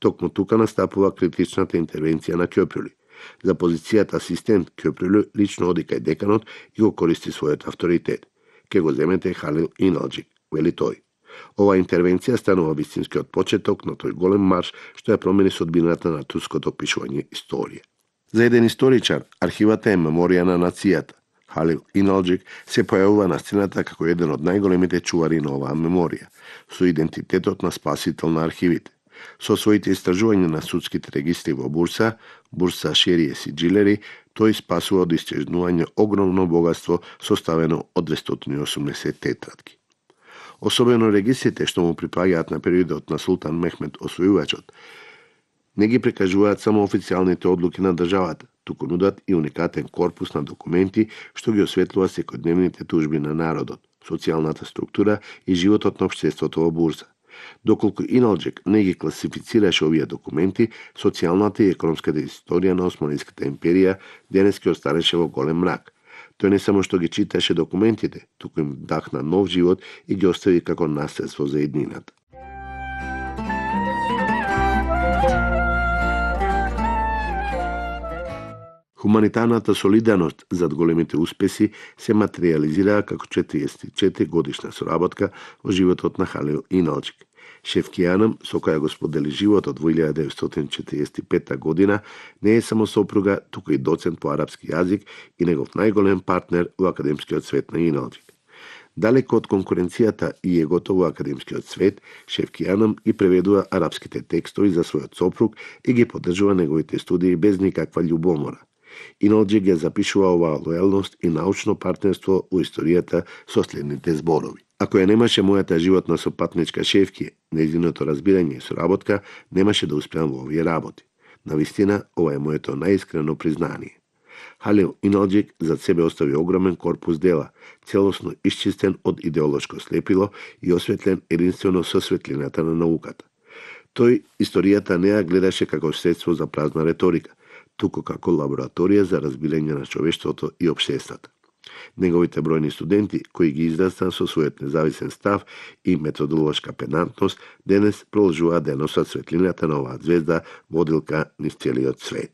Токму тука настапува критичната интервенција на Кјопрли. За позицијата асистент Кјопрли лично оди кај деканот и го користи својот авторитет. Ке го земете Халил Иналџик, вели тој. Ова интервенција станува вистинскиот почеток на тој голем марш што ја промени судбината на турското пишување историја. За еден историчар, архивата е меморија на нацијата. Халил Иналџик се појавува на сцената како еден од најголемите чувари на оваа меморија, со идентитетот на спасител на архивите. Со своите истражувања на судските регистри во Бурса, Шерие Сиджилери, тој спасува од истражување огромно богатство составено од 280 тетрадки. Особено регистрите што му припаѓаат на периодот на Султан Мехмед Освојувачот, не ги прикажуваат само официјалните одлуки на државата, туку нудат и уникатен корпус на документи што ги осветлува секојдневните тужби на народот, социјалната структура и животот на општеството во Бурса. Доколку Иналџик не ги класифицираше овие документи, социјалната и економската историја на Османската империја денес ќе останеше во голем мрак. Тој не само што ги читаше документите, туку им дахна нов живот и ги остави како наследство за иднината. Хуманитарната солидарност зад големите успеси се материализираа како 44 годишна соработка во животот на Халил Иналџик. Шефки Анам, со која го сподели животот во 1945 година, не е само сопруга, туку и доцент по арапски јазик и негов најголем партнер во академскиот свет на Иналџик. Далеко од конкуренцијата и егото во академскиот свет, Шефки Анам ги преведува арапските текстови за својот сопруг и ги поддржува неговите студии без никаква љубомора. Иналџик ја запишува оваа лојалност и научно партнерство во историјата со следните зборови. Ако ја немаше мојата животна сопатничка Шефки, нејзиното разбирање и соработка, немаше да успеам во овие работи. Навистина, ова е моето најискрено признание. Халил Иналџик зад себе остави огромен корпус дела, целосно исчистен од идеолошко слепило и осветлен единствено со светлината на науката. Тој историјата не ја гледаше како средство за празна реторика, туку како лабораторија за разбирање на човештвото и општеството. Неговите бројни студенти, кои ги израстаа со својот независен став и методолошка педантност, денес продолжуваат да носат светлината на оваа звезда водилка низ целиот свет.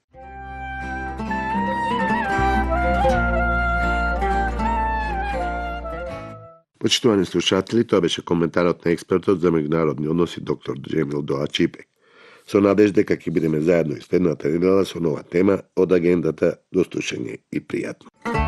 Почитувани слушатели, тоа беше коментарот на експертот за меѓународни односи доктор Џемил Доа Чипек. Со надежда дека ќе бидеме заедно и следната недела со нова тема од агендата. До слушање и пријатно.